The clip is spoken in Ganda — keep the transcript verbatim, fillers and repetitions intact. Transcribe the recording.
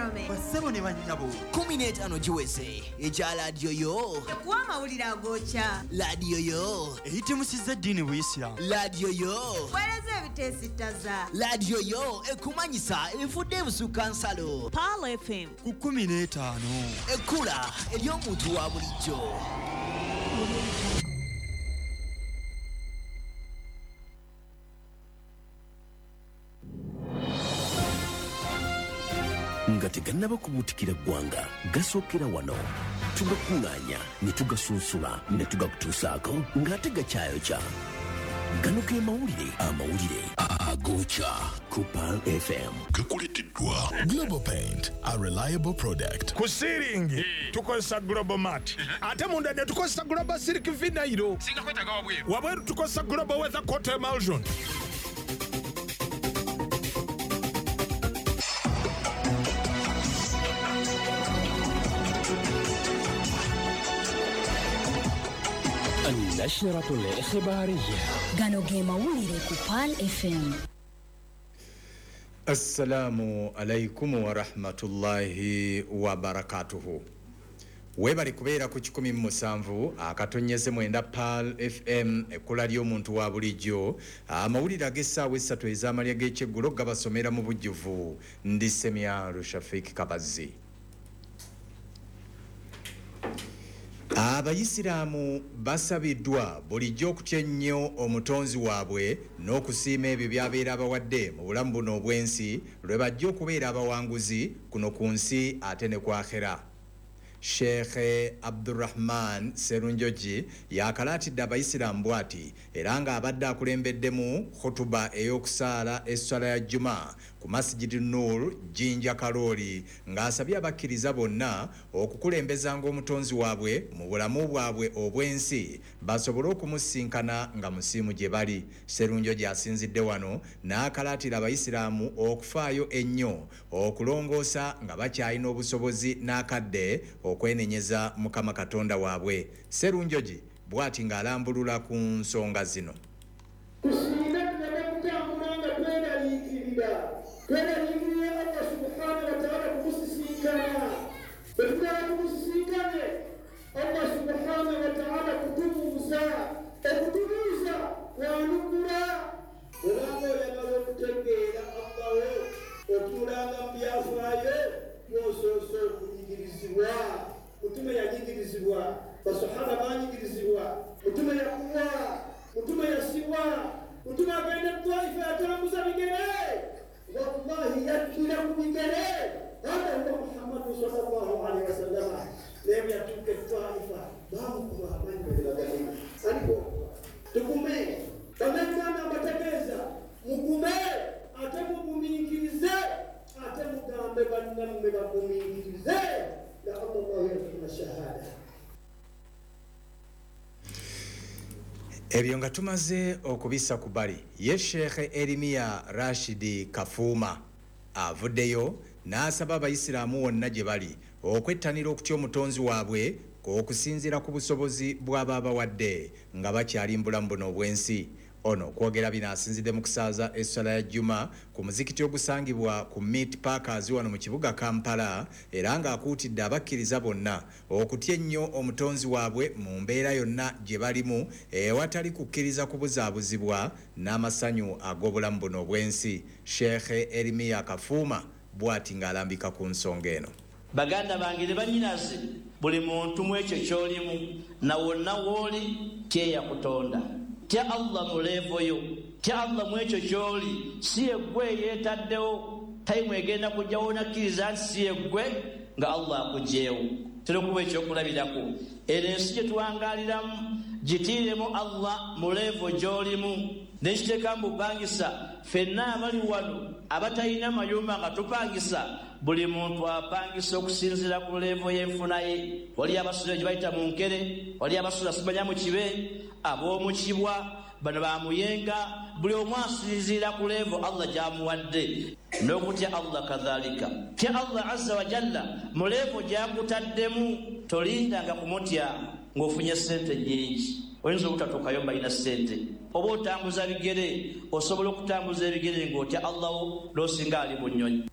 gentlemen. Bassebo ne bannyabo. Kumi n'etaano giweze ekya laadiyo yo. Ekuwa amawulire agookya. Laadiyo yo. Eyitimusizza eddiini Buyisiraamu. Laadiyo yo. Weereza ebiteesittaza. Laadiyo yo ekumanyisa efudde ebusukka nsalo. Pearl F M. Ku kumi n'etaano. Ekkula ery'omuntu wa bulijjo. Nga tegannaba kubuutikira ggwanga, gasookera wano. Tugakuŋŋaanya ne tugasunsula ne tugakutuusaako ng'ate gakyayokya. Gano ge mawulire amawulire agookya ku Pearl F M. Gakuleeteddwa Global Paint, a reliable product. Ku siiringi tukozesa Global Mat, ate munda ne tukozesa Global Silk Vinyl. Singa kwetaaga wabweru. Wabweru tukozesa Global Weather Coat Emulsion. النشرة الإخبارية. Gano ge mawulire ku Pearl F M. Assalamu alaikum wa rahmatullahi wa barakatuhu. Webali kubeera ku kikumi mu musanvu akatonyeze mwenda Pearl F M ekkula ly'omuntu wa bulijjo. Amawulire ag'essaawa essatu ez'amalya g'ekyeggulo gabasomera mu bujjuvu. Ndi Semya Rushafik Kabazi. Abayisiraamu basabiddwa bulijjo okutya ennyo omutonzi waabwe n'okusiima ebyo by'abeera abawadde mu bulamu buno obw'ensi lwe bajja okubeera abawanguzi kuno ku nsi ate ne ku akhera. Sheikh Abdurrahman Serunjogi yakalaatidde abayisiraamu bw'ati era ng'abadde akulembeddemu khutuba ey'okusaala esswala ya Juma ku Masjid Nur Jinja Karoli ng'asabye abakkiriza bonna okukulembezanga omutonzi waabwe mu bulamu bwabwe obw'ensi basobole okumusinkana nga musiimu gye bali. Serunjogi asinzidde wano n'akalaatira abayisiraamu okufaayo ennyo okulongoosa nga bakyalina obusobozi n'akadde okwenenyeza Mukama Katonda waabwe. Serunjogi bw'ati ng'alambulula ku nsonga zino. Tusiime tuleme kutambula nga tweraliikirira. Tweraliikirira Allah subhanahu wa ta'ala kumusisinkana. Bwe tumala tumusisinkane, Allah subhanahu wa ta'ala kutubuuza. Okutubuuza kwanukula. Obanga oyagala okutegeera Allah wo, otuulanga mu byafaayo bw'osoose okunyigirizibwa. Mutume yanyigirizibwa, basahaba banyigirizibwa, mutume yakuwa, mutume yasibwa, mutume agenda Taifa yatambuza bigere. Wallahi yakkira ku bigere. Hada huwa Muhammadu sallallahu alaihi wasallam. Naye bwe yatuuka e Taifa baamukuba amanyi bwe aliko. Tugume, bannayuganda mbategeeza, mugume ate mugumiikirize, ate mugambe bannammwe bagumiikirize. Ebyo nga tumaze okubisa ku bali, ye Sheikh Erimiya Rashidi Kafuuma avuddeyo n'asaba abayisiraamu wonna gye bali okwettanira okutya omutonzi waabwe okusinziira ku busobozi bw'aba abawadde nga bakyali mu bulamu buno obw'ensi. Ono okwogera bino asinzidde mu kusaaza esswala ya Juma ku muzikiti ogusangibwa ku Meat Packers wano mu kibuga Kampala era ng'akuutidde abakkiriza bonna okutya ennyo omutonzi waabwe mu mbeera yonna gye balimu ewatali kukkiriza kubuzaabuzibwa n'amasanyu ag'obulamu buno obw'ensi. Sheikh Erimiya Kafuuma bw'ati ng'alambika ku nsonga eno. Baganda bange ne bannyinaze, buli muntu mu ekyo ky'olimu na wonna w'oli kyeyakutonda. Tya Allah mu levo yo, tya Allah mu ekyo ky'oli, si yeggwe yeetaddewo. Tayimu egenda kujjawo onakkiriza nti si yeggwe nga Allah akuggyeewo. Tera okuba ekyokulabirako. Eno ensi gye tuwangaaliramu gitiiremu Allah mu levo gy'olimu. Nekiteeka mu bupangisa, ffenna abali wano abatalina mayumba nga tupangisa, buli muntu apangisa okusinziira ku levo y'enfuna ye. Wali abasula gye bayita mu nkere, wali abasula simanya mu kibe, ab'omu kibwa, bano bamuyenga, buli omu asinziira ku levo Allah gy'amuwadde. N'okutya Allah kadhalika. Tya Allah azza wa jalla mu levo gy'akutaddemu, tolindanga kumutya ng'ofunye ssente nnyingi. Oyinza obutatuukayo mbalina ssente, oba otambuza bigere, osobola okutambuza ebigere ng'otya Allah wo n'osinga ali mu nnyonyi.